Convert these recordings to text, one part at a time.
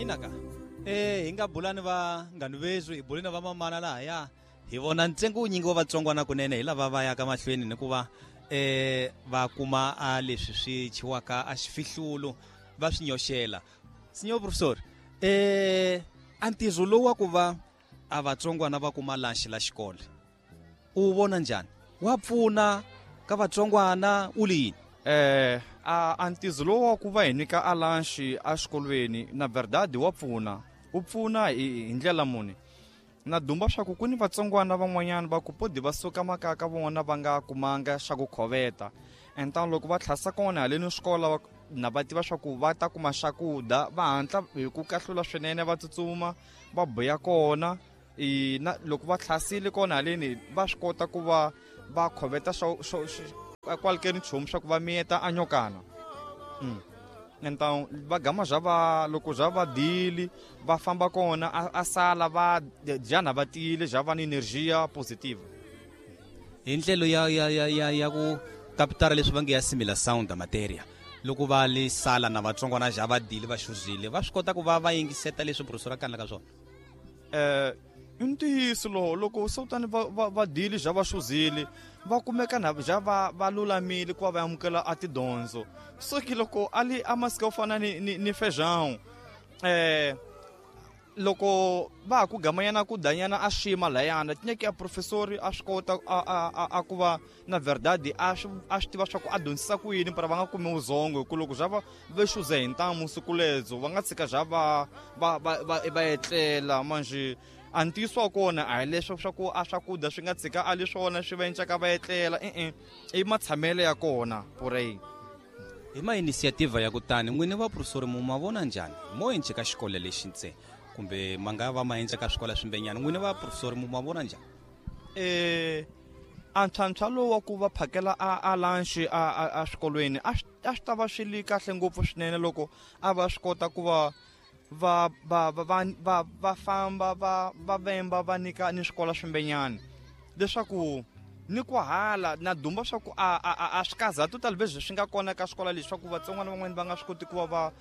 Inaka hi nga bula ni vanghani veswi, hi bule na vamamana lahaya, hi vona ntsengo wunyingi wa vatsongwana kunene hi lava va yaka mahlweni ni ku va va kuma a leswi swi chiwaka a xifihlulo va swi nyoxela. Senhor professor, a ntirho lowu wa ku va a vatsongwana va kuma lunch la xikolo u vona njhani? Wa pfuna ka vatsongwana u li yini? A ntizo lowu wa ku va hi nyika a lunch a xikolweni na verdade wa pfuna. U pfuna hi ndlela muni? Na dumba swa ku ku ni vatsongwana van'wanyana va ku podi va suka makaya ka vona va nga kumanga xa ku khoveta. Entano loko va tlhasa kona haleni xikolo na va tiva swa ku va ta kuma swakudya, va hatla hi ku kahlula swinene, va tsutsuma va buya kona. Na loko va tlhasile kona haleni va swi kota ku va va khoveta kwalekeni nchumu swa ku va miyeta a nyokana. Entano va gama bya va loko bya va dili va famba kona a sala va dyana va tiyile bya va ni energia positive. Hi ndlela ya ku kapitara leswi va nge ya simila sound materia, loko va le sala na vatsongwana ja va dile va xuzile, va swi kota ku va va yingiseta leswi professor a kanelaka swona. I ntiyiso lowo, loko se kutani va dile ja va xuzile, va kumeka na ja va lulamile ku va va amukela a tidyondzo. So ke loko a li a masika yo fana ni feijão, loko va ha ku gamanyana ku danyana a xima layana, tinyeke ya professori a swi kota a ku va na verdade a swi tiva swa ku a dyondzisa ku yini, para va nga kumi vuzongo, hi ku loko bya va ve xuze hi ntamu siku ledzo va nga tshika bya va etlela. Manjhe a ntiyiso wa kona a hi leswo swa ku a swakudya swi nga tshika a le swona swi va encaka va etlela, e-e, i matshamelo ya kona purei. Hi ma initiative ya kutani n'wini va professor mu ma vona njhani mo endle ka xikolo lexi ntse, kumbe ma nga va ma endla ka swikolo swimbenyana, n'wini va professor mu ma vona njhani? A ntlhantlha lowu wa ku va phakela a lunch a swikolweni a swi ta va swi li kahle ngopfu swinene loko a va swi kota ku va va famba va vemba va nyika ni swikolo swimbenyana, leswaku ni ku hala na dumba swa ku a swi kaza total leswi swi nga kona ka swikolo leswi swa ku vatsongwana van'wani va nga swi koti ku va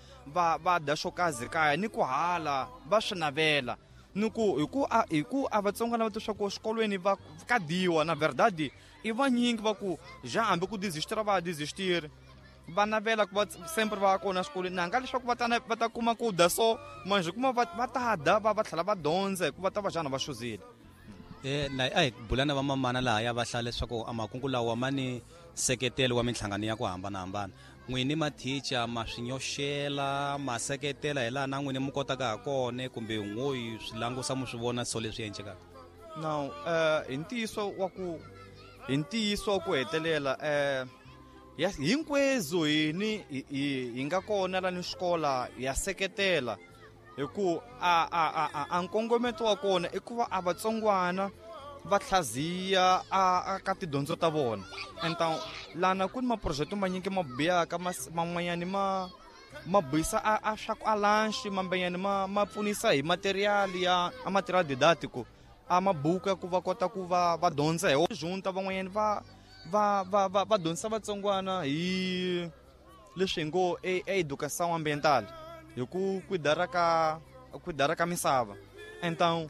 va dya xo kazi kaya, ni ku hala va swi navela. Ni ku hi ku a vatsongwana va twa swa ku swikolweni va ka dyiwa na verdade i vanyingi va ku ja hambi ku desistira va desistiri, va navela ku va sempre va kona swikolweni, na nga leswaku va ta kuma ku dya so manjhe kuma va ta dya va tlhela va dyondza hikuva ta va xana va xuzile. Na a hi bula na vamamana laha ya va hlaya leswaku a makungu lawa ma ni nseketelo wa minhlangano ya ku hambanahambana. N'wini mathicha ma swi nyoxela, ma seketela hi laha na n'wini mi kotaka ha kona, kumbe n'wo yi swi langusa mi swi vona so leswi endlekaka? Now, hi ntiyiso wa ku, hi ntiyiso wa ku hetelela, ya hinkwezo hini hi nga kona la ni xikola ya seketela, hi ku a nkongometo wa kona i ku va a vatsongwana va hlaziya a ka tidyondzo ta vona. Enta lana ku ni maproject manyingi ma biyaka, man'wanyani ma buyisa a swa ku a lunch, mambenyani ma pfunisa hi material ya a material didactico, a mabuku ya ku va kota ku va dyondza hi wona. Junta van'wanyani va dyondzisa vatsongwana hi leswi hi ngo educação ambiental, hi ku kwidara ka misava. Então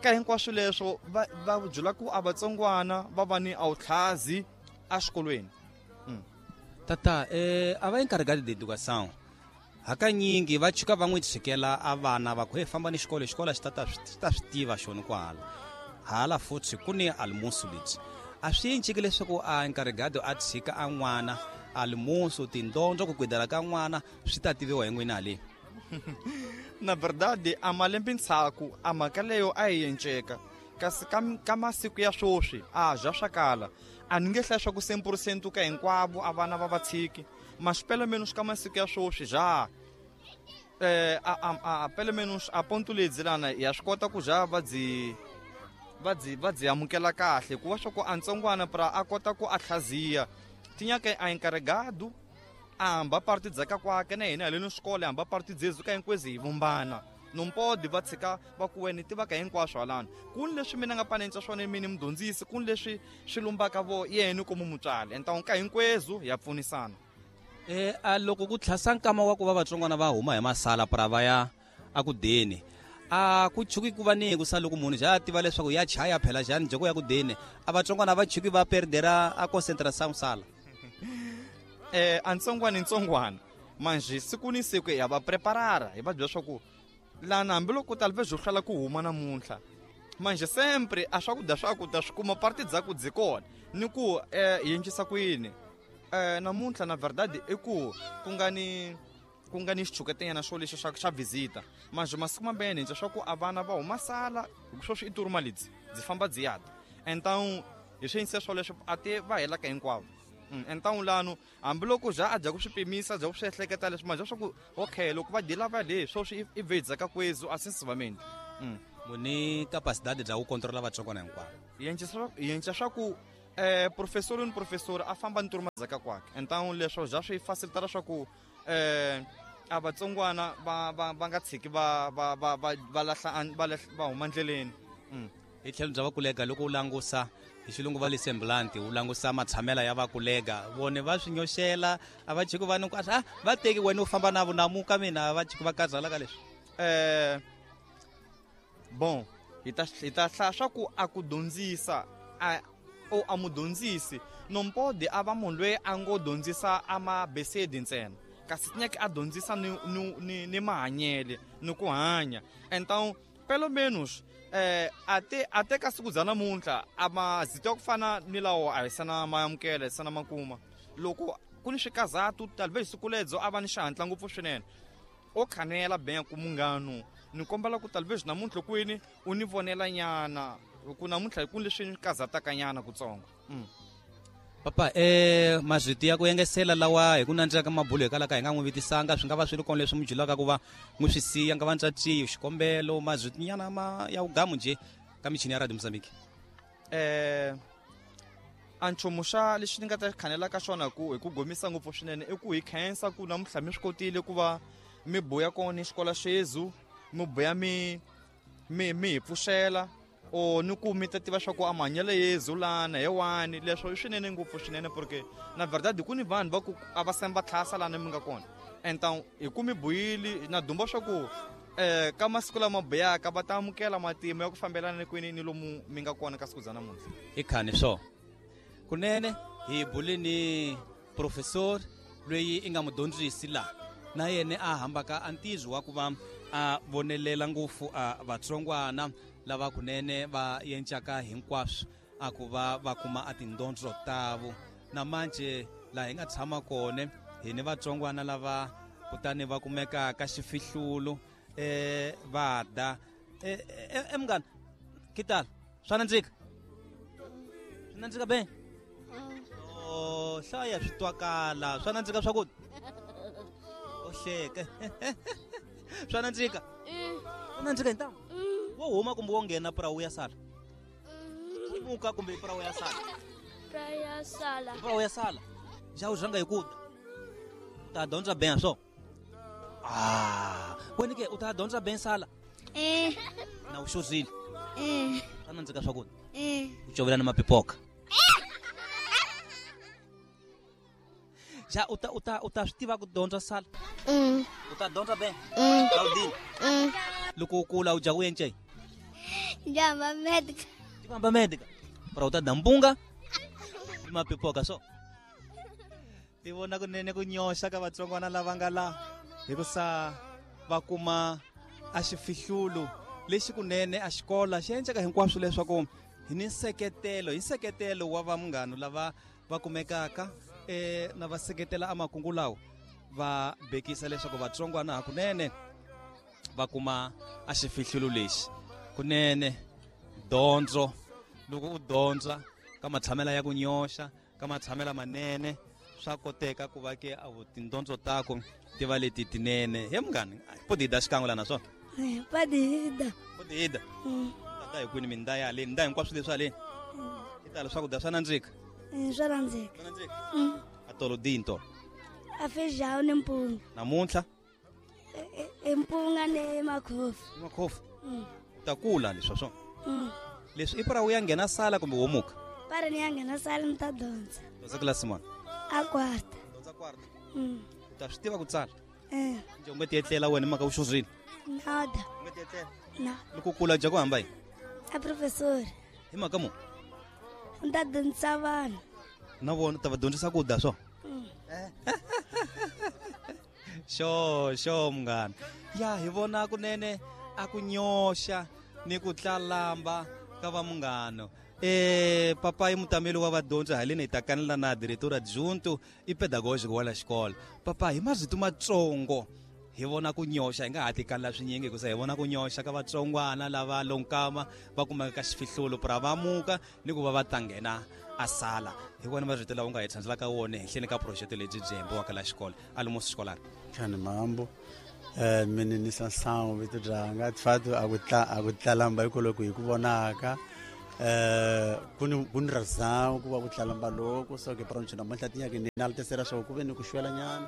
ka hinkwaswo leswo va byela ku a vatsongwana va va ni awutlhazi exikolweni. Tata, a va encarregado de educação hakanyingi va chuka va n'wi tshikela a vana va ku hey, famba ni xikolo, xikolo xi ta swi tiva xona kwahala. Hala futhi ku ni almuso lebyi a swi enciki leswaku a encarregado a tshika a n'wana almuso tindondzo ku kwidala ka n'wana swi ta tiviwa hi n'wina haleni. Na verdade a malembe ndzhaku a mhaka leyo a yi enceka, kasi ka masiku ya sweswi a dya swa kala. A ni nge hlayi swa ku 100% ka hinkwavo a vana va va tshiki, mas pelo menos ka masiku ya sweswi ja, a pelo menos a ponto lebyi lana ya swi kota ku ja va dzi amukela kahle, ku va swa ku a ntsongwana pra a kota ku a hlaziya tinyaka a encarregado a hamba parti dzaka kwake na hina haleni xikolo hamba parti dzezu ka hinkwezi hi vumbana. Nompodi va tshika va ku wena tiva ka hinkwaswo halani. Ku ni leswi mina nga panenca swona mina mudyondzisi, ku ni leswi swi lumbaka vo yena ku mu mutswari. Enta ka hinkwezu ya pfunisana. A loko ku tlhasa nkama wa ku va vatsongwana va huma hi masala pra va ya a ku deni a ku chuki ku va ni ku sa loko munhu ja tiva leswaku ya chaya phela jani joko ya ku deni a vatsongwana va chuki va perdera a concentration sala. A ntsongwana ntsongwana manje siku ni siku ya va preparara hi va byela swa ku lana hambiloko talve byo hlwela ku huma namuntlha manje sempre a swakudya swa ku ta swi kuma parti dza ku dzi kona ni ku hi endlisa ku yini namuntlha na verdade i ku ku nga ni xichuketenyana xo lexi xa visita manje masiku mambene hi swa ku a vana va huma sala sweswi i turuma ledzi dzi famba dzi yata então hi swi endlisa swoleswo a te va helaka hinkwavo. Então lano hambiloko ja a dya ku swi pimisa dya ku swi ehleketa leswi manje swa ku okay loko va dila va le sweswi i vedzaka kwezu a sensivamente. Muni capacidade bya ku controla vatsongwana hinkwavo hi endla swa ku professor ni professor a famba ni turuma dzaka kwakhe então leswo ja swi facilitara swa ku a vatsongwana va nga tshiki va va va va va lahla va huma ndleleni. Hi tlhelo bya vakulega loko u langusa hi xilungu va le semblanti u langusa matshamela ya vakulega vone va swi nyoxela a va chiki va ni a va teki wena u famba na vunamuka mina va chiki va kazala ka leswi. Bon hi ta hlaya swa ku a ku dyondzisa a o a mudyondzisi nompodi a va munhu loyi a ngo dyondzisa a mabesedi ntsena kasi tinyaki a dyondzisa ni mahanyele ni ku hanya então pelo menos a te ka siku bya namuntlha a mazito ya ku fana ni lawo a hi sana ma amukela hi sana ma kuma loko ku ni swikazatu talve siku ledzo a va ni xihatla ngopfu swinene o khanela ben ku munghano ni kombela ku talve namuntlha kwini u ni vonela nyana ku namuntlha ku leswi ni kazataka nyana kutsongo. Papa mazwiti ya ku yengesela lawa hi ku nandzika mabulo hikwalaho ka hi nga n'wi vitisanga swi nga va swi ri kona leswi mi julaka ku va n'wi swi siya nga va ntswatsiyo xikombelo mazwiti nyana ma ya vugamu nje ka michini ya Radio Mozambique. A nchumu xa lexi ni nga ta khanela ka xona ku hi ku gomisa ngopfu swinene i ku hi khensa ku namuntlha mi swi kotile ku va mi buya kona xikola xezu mi buya mi hi pfuxela o ni ku mi ta tiva swa ku a mahanyelo yezu lana he wani leswo i swinene ngopfu swinene porque na verdade ku ni vanhu va ku a va semba tlhasa lana mi nga kona então hi ku mi buyile na dumba swa ku ka masiku lama buyaka va ta amukela matimu ya ku fambelana ni kwini ni lomu mi nga kona ka siku bya namuntlha. I khani swo kunene hi bule ni professor loyi i nga mudyondzisi la na yena a hambaka a ntizo wa ku va a vonelela ngopfu a vatsongwana lava kunene va yencaka hinkwaswo a ku va va kuma a tindondzo tavo na manje laha hi nga tshama kona hi ni vatsongwana lava kutani va kumeka ka xifihlulu va da munghana kitala swa nandzika swi nandzika be o hlaya swi twakala swa nandzika swakudya o hleke swa nandzika swa nandzika hi ntamu wo huma kumbe wo nghena pura wu ya sala muka kumbe pura wu ya sala pura wu ya sala ja u rhanga hi ku u ta dyondza ben swo wena ke u ta dyondza ben sala na u xozile swa nandzika swakudya u covela na mapipoka ja u ta swi tiva ku dyondza sala u ta dyondza ben Claudine loko u kula u dya ku yencei Jamba médica. Jamba médica. Para u ta da mpunga ni mapipoka so ti vona kunene ku nyoxa ka vatsongwana lava nga la hikusa va kuma a xifihlulo lexi kunene a xikola xi endleka hinkwaswo leswaku hi ni nseketelo hi nseketelo wa va munghano lava va kumekaka na va seketela a makungu lawa va bekisa leswaku vatsongwana hakunene va kuma a xifihlulo lexi kunene dyondzo loko u dyondza ka matshamela ya ku nyoxa ka matshamela manene swa koteka ku va ke a tindondzo tako ti va leti tinene he munghani podida xikan'we la naswona podida podida tata hi kwini minda ya haleni nda hinkwaswo leswi haleni i tala swakudya swa nandzika swa nandzika a tolo dini tolo a feijão ni mpunga namuntlha mpunga ni makhofu makhofu u ta kula leswi swona leswi i para u ya nghena sala kumbe wo muka para ni ya nghena sala ni ta dyondza dyondza kilasi mani a quarta dyondza quarta u ta swi tiva ku tsala Nje u nge ti etlela wena mhaka u xurhile? Nada. U nge ti etlela? Nada. Loko u kula dya ku hamba yini? A professor. Hi mhaka mu? Ni ta dyondzisa vanhu. Na vona u ta va dyondzisa ku dya swo? Xo munghana. Ya hi vona kunene a ku nyoxa ni ku tlalamba ka va munghano. Papai mutameli wa vadyondzi haleni hi ta kanela na diretor adjunto i pedagogico wa la xikolo. Papa hi marito matsongo hi vona ku nyoxa hi nga ha tikanela swinyingi hikusa hi vona ku nyoxa ka vatsongwana lava lonkama va kumeka ka xifihlulo pra va muka ni ku va va ta nghena a sala. Hi vona marito lawa u nga hi tshantselaka wona henhleni ka project lebyi byi hembiwaka la xikolo almost xikolari. Khani mambo. Mina Sangu vito byanga tfatu a ku tlalamba hikwalaho hi ku vonaka ku ni razão ku va ku tlalamba loko so ke pronto namuntlha tinyake ni naltesera swo ku ve ni ku xwela nyana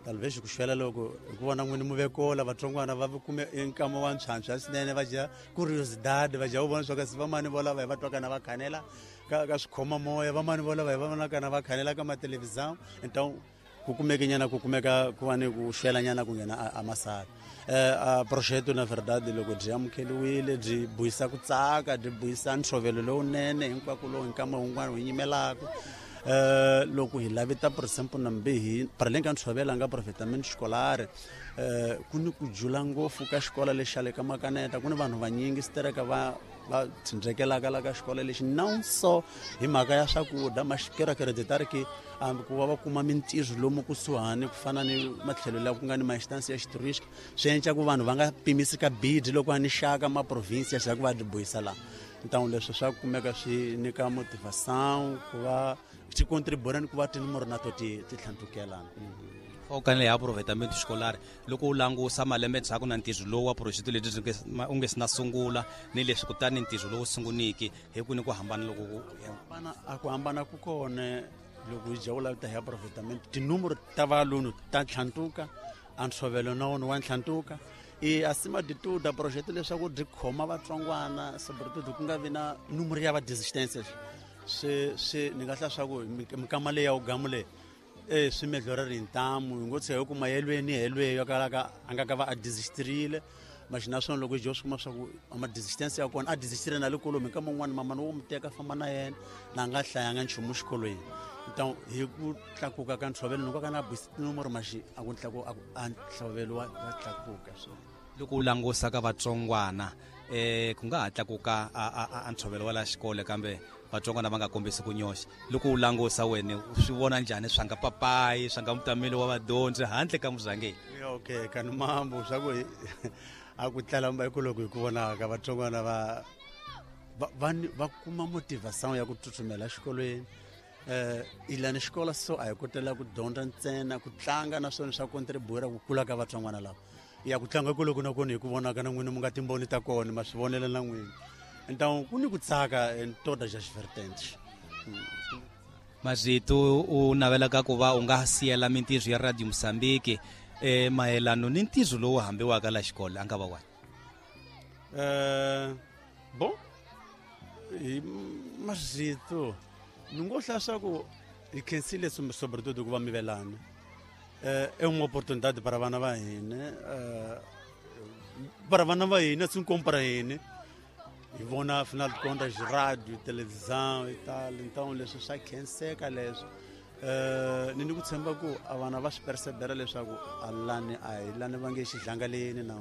talvez ku xwela loko hi ku vona n'wini muvekola vatsongwana va kume nkama wa ntshwantshwa swinene va dya curiosidade va dya u vona swa kasi vamani volava hi va twaka na va khanela ka swikhoma moya vamani volava hi va vonaka na va khanela ka matelevisão então ku kumeke nyana ku kumeka ku va ni ku xwela nyana ku nghena a masala. A projeto na verdade loko byi amukeliwile byi buyisa ku tsaka byi buyisa ntshovelo lowunene hinkwako lowu nkama wun'wana wu yimelaka. Loko hi lavita por exemple nambe hi paraleng ka ntshovelo nga aproveitamento escolar ku ni ku jula ngopfu ka xikolo lexi xa le ka Makaneta ku ni vanhu vanyingi sitereka va tshindzekelaka la ka xikolo lexi não só hi mhaka ya swakudya mas quero acreditar que ku va va kuma mintirho lomu kusuhani ku fana ni matlhelo laha ku nga ni ma-instance ya xituristic swi endla ku vanhu va nga pimisi ka bidi loko va ni xaka ma-province ya ku va byi buyisa laha. Então leswi swa kumeka swi nyika motivação ku va swi contribua ni ku va tinumero na to ti tlhantukelana. U kanele hi aproveitamento escolar loko u langusa malembe ndzhaku na ntirho lowu wa project lebyi u nge si na sungula ni leswi kutani ntirho lowu sunguniki hi ku ni ku hambana loko ku hambana a ku hambana ku kona loko hi dya u lavita hi aproveitamento tinumero ta valunu ta tlhantuka a ntshovelo na wona wa ntlhantuka. E acima de tudo a projeto leswaku byi khoma vatsongwana sobretudo ku nga vi na numero ya va desistências swi ni nga hlaya swa ku minkama leyi ya wugamu leyi swi melhoreri hi ntamu hi ngo tshe hi ku mayelweni helweyo kalaka a nga ka va a desistirile mas naswona loko hi dya swi kuma swa ku ma desistance ya kona a desistile na le kolomi nkama wun'wana mamani wo mu teka famba na yena na nga hlayanga nchumu xikolweni. Então hi ku tlakuka ka ntshovelo ni ka na bwisi tinomoro maxi a ku tlakuka a ntshovelo wa tlakuka swona. Loko u langusa ka vatsongwana ku nga ha tlakuka a ntshovelo wa la xikolo kambe vatsongwana va nga kombisi ku nyoxa. Loko u langusa wena u swi vona njhani swa nga papayi swa nga mutameli wa vadyondzi handle ka muzangeni? Okay kani mambo swa ku a ku tlalamba hi ku loko hi ku vonaka vatsongwana va kuma motivação ya ku tsutsumela exikolweni. Ilani xikolo so a hi kotela ku dyondza ntsena ku tlanga naswona swa contribuer ku kula ka vatsongwana lava ya ku tlanga ku loko na kona hi ku vonaka na n'wina mu nga timboni ta kona ma swi vonela na n'wina. Então ku ni ku tsaka em todas as vertentes. Mazito u navelaka ku va u nga siyela mintirho ya Radio Mozambique mayelano ni ntirho lowu hambiwaka la xikolo a nga va wani? Bom hi mazito ni ngo hlaya swa ku hi khensile sobretudo ku va mi velana. É uma oportunidade para vana va hina para vana va hina assim como para hina hi vona afinal de contas rádio televisão e tal. Então leswi swa khenseka leswi ni ku tshemba ku a vana va swi percebera leswaku a lani a hi lani va nge xidlangaleni na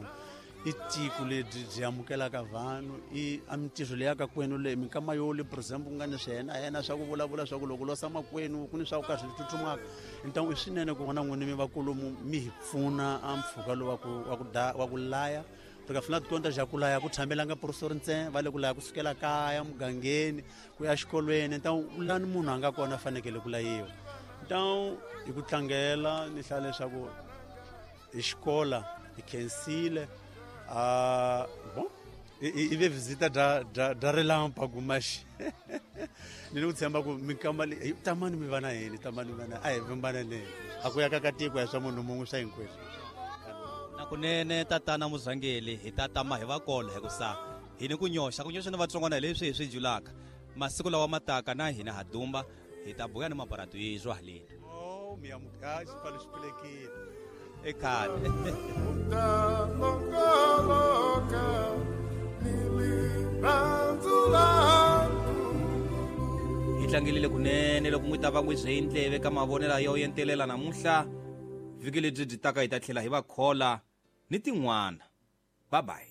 i tiko lebyi byi amukelaka vanhu i a mintirho leyi ka kwenu leyi minkama yo le por exemple ku nga ni swi yena yena swa ku vulavula swa ku loko losa makwenu ku ni swa ku ka swi tsutsumaka. Então i swinene ku vona n'wini mi vakulumu mi hi pfuna a mpfhuka lowu wa ku laya porque afinal de contas ja ku laya ku tshamelanga professor ntsena va le ku laya ku sukela kaya mugangeni ku ya xikolweni. Então lani munhu a nga kona a fanekele ku layiwa. Então hi ku tlangela ni hlaya leswaku hi xikola hi khensile. Bom i ve visita da relâmpago mas ni ku tshemba ku minkama leyi tamani mi va na yini tamani mi va na a hi vimbananeni a ku ya ka tiko ya swa munhu mun'we swa hinkweswo. Na kunene tatana muzangeli hi ta tama hi va kola hikusa hi ni ku nyoxa ni vatsongwana hi leswi hi swi julaka masiku lawa mataka na hina ha dumba hi ta buya ni maparatu yizwa haleni. Oh mi amuka xipfalo xi pfulekile. I khale. Hi tlangelile kunene loko n'wi ta va n'wi bye ndleve ka mavonelo yo yentelela namuntlha. Vhiki lebyi byi taka hi ta tlhela hi va khola ni tin'wana. Bye bye.